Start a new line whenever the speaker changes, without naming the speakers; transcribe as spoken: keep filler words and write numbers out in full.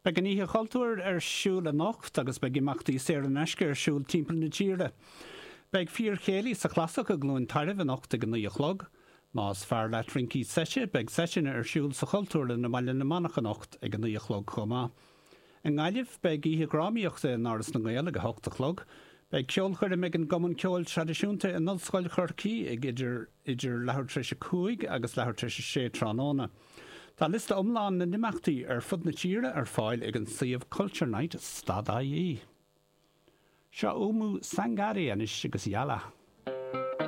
Beidh an Oíche Chultúir ar siúl anocht agus beidh imeachtaí saor in aisce ar siúl timpeall na tíre. Beidh fíorchéilí sa Chlasach i gCluain Tairbh anocht ag a naoi a chlog. Más fearr leat rincí seite, beidh seiteanna ar siúl sa Chultúrlann i mBaile na Manach anocht ag a naoi a chlog chomh maith. I nGaillimh, beidh oíche dhrámaíochta in Áras na nGael ag a hocht a chlog. Beidh ceolchoirm ag an gCumann Ceoil Traidisiúnta in Ollscoil Chorcaí ag idir idir leathuair tar éis a cúig agus leathuair tar éis a sé tráthnóna. Tá liosta iomlán na n-imeachtaí ar fud na tíre ar fáil ag an suíomh culturenight stad I E. Seo Oumou Sangaré anois agus Yalla.